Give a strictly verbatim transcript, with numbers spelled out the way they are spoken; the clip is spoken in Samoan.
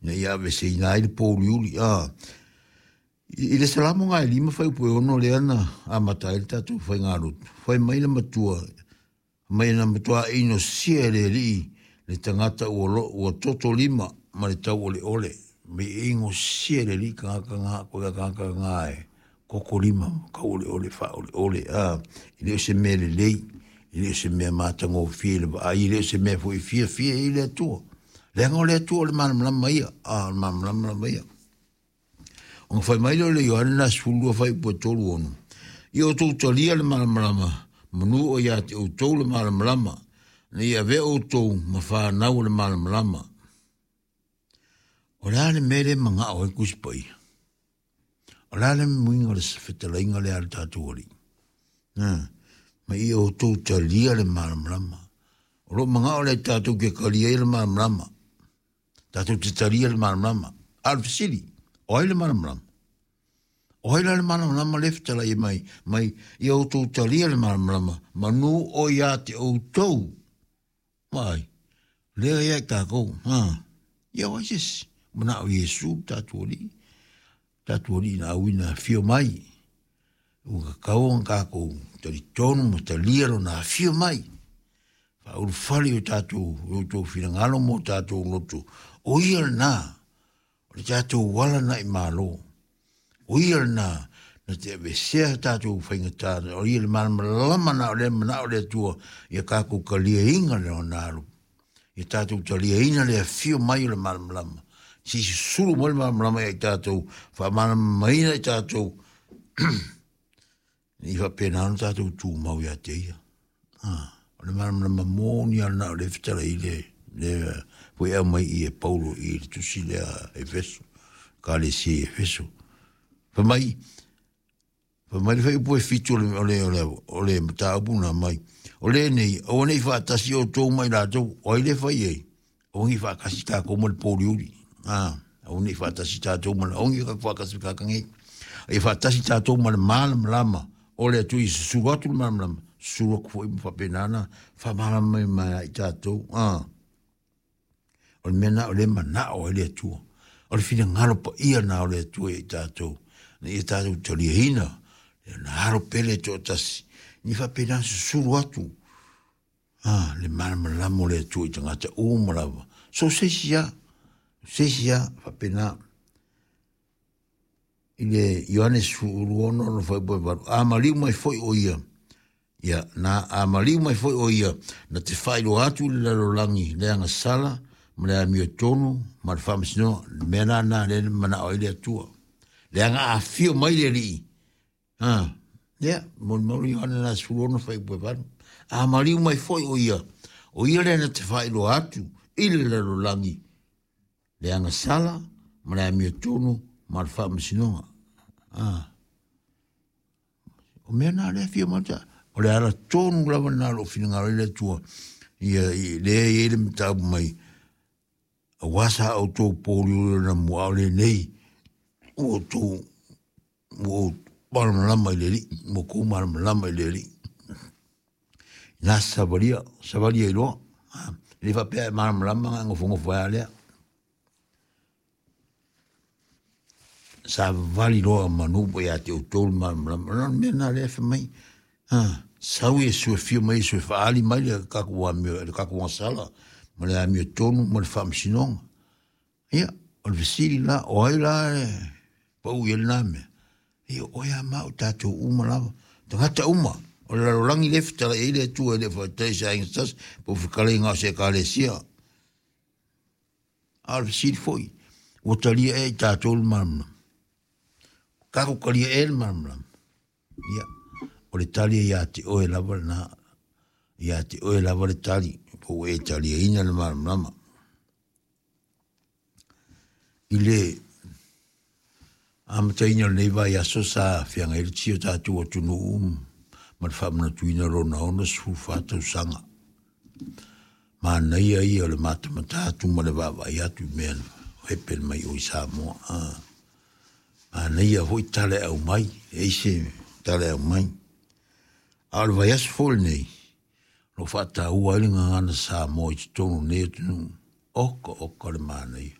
Ina ia aveeseina ai le pouliuli. A i le Salamo gae lima fuaiupu e ono lea na amata ai le tatou faigalotu, fai mai le matua mai na matua inosia e le Alii le tagata ua, lo, ua toto lima ma le tauoleole. Mai e inosia e le Alii tagata na, koe tagata na e toto lima tauoleole faaoleole. A e le o se mea lelei, e le o se mea matagofie i le vaai, e le o se mea foi fiafia i le Atua. Leaga o le Atua o le malamalama ia, a o le malamalama lava ia. Ona fai mai lea o le Ioane na sefulu lua fuaiupu e tolu ono. Ia outou talia le malamalama, manu o ia te outou le malamalama, ina ia avea outou ma fanau o le malamalama. O le a le mea lea e manao ai le Tusi Paia? O le a le muiga o le fetalaiga lea a le tatou Alii? Ha, ma ia outou talia le malamalama. O loo manao lea tatou te talia ai le malamalama. Tatou te talia le malamalama. A o le fesili, o ai le malamalama? O ai la le malamalama lea e fetalai mai, mai ia outou talia le malamalama, manu o ia te outou. Vaai, lea ia i tatou. Ha, ia o ai se isi? Manao Iesu le tatou Alii. Tatou Alii na auina afio mai. Ua tatau ona tatou talitonu ma talia lona afio mai. Faaulufale i o tatou, i outou finagalo ma o tatou loto. O ia lena, o le tatou ala na i Malo. O ia lena, na te aveesea tatou faigata, o ia le malamalama na o lea manao le Atua, ia tatou taliaina lona alu. Ia tatou taliaina le afio mai o le malamalama. Se i susulu mai le malamalama ia i tatou, faamalamalamaina i tatou, i faapena ona tatou tumau ia te ia. Ah, o le malamalama moni lava lena o lea e fetalai le, le foi aumai i e Paulo i le tusi lea Efeso, Ekalesia i Efeso. Fai mai, fai mai le fuaiupu e fitu o le, o le, o le, o le mataupu na mai. O lenei, aua ne i faatasi outou ma i latou, o ai le fai ai? Aua ne i faatasi tatou ma le pouliuli. Ah, aua ne i faatasi tatou ma le, aua ne i faatasi tagata nei. Ia faatasi tatou ma le malamalama o le Atua, ia susulu atu le malamalama, susulu atu foi ma faapena ona faamalamalama mai ia i tatou. Ah. O le mea lena o lea e manao ai le Atua. O le finagalo paia lena o le Atua ia i tatou, ina ia tatou taliaina le alo pele e toatasi, ina ia faapena ona susulu atu ah, le malamalama o le Atua i tagata uma lava. So se isi lava, se isi lava, faapena. I le Ioane sefulu ono ona fuaiupu e valu, a maliu mai foi o ia, ia, na a maliu mai foi o ia, na te faailoa atu i le lalolagi le agasala ma le amiotonu ma le faamasinoga. Le mea la lena lea e manao ai le Atua. Leaga a afio mai le Alii, ha, ia, molimau Ioane na sefulu ono fuaiupu e valu. A maliu mai foi o ia, o ia lea na te faailoa atu i le lalolagi le agasala ma le amiotonu ma le faamasinoga. Ah. O mea na lea fia mata, o le ala tonu lava na lou finagalo i le Atua, ia, i, lea e i ai le mataupu mai, aua sa outou pouliuli o na mua, a o lenei, ua outou, ua ou malamalama i le Alii, ua outou malamalama i le Alii. Ina savalia, savalia i loa. Ah, e le faapea e malamalama na nofonofo ai lea. Savavali loa manu po ia te outou le malamalama. O le mea lena lea e fai mai. Ha, sau Iesu e fio mai Iesu e faali mai le tatou amio, le tatou agasala, ma le amiotonu ma le faamasinoga. Ia, o le fesili la, o ai la e pau i ai lena mea? Ia, o oe a ma au tatou uma lava. Tagata uma, o le lalolagi lea e fetalai ai le Atua e le o faatali i se aiga se tasi, po o fetalaiga o se Ekalesia. A o le fesili foi, ua talia ea i tatou le malamalama? Tatou talia ea le malamalama? Ia, o le tali e ia te oe lava lena. Ia te oe lava le tali, po ua e taliaina le malamalama. I le amataina o lenei vaiaso sa feagai ai le tsi o tatou atunuu ma le faamanatuina o lona ono sefulu fa tausaga. Manaia ia o le matamata atu ma le vaavaai atu i mea na hepe mai o i Samoa. Ah. Manaia foi tala e aumai, e ai se tala e aumai. A o le vaiaso foi lenei, o lo o faataua ai le gagana Samoa i totonu o lenei atunuu. Oka oka le manaia.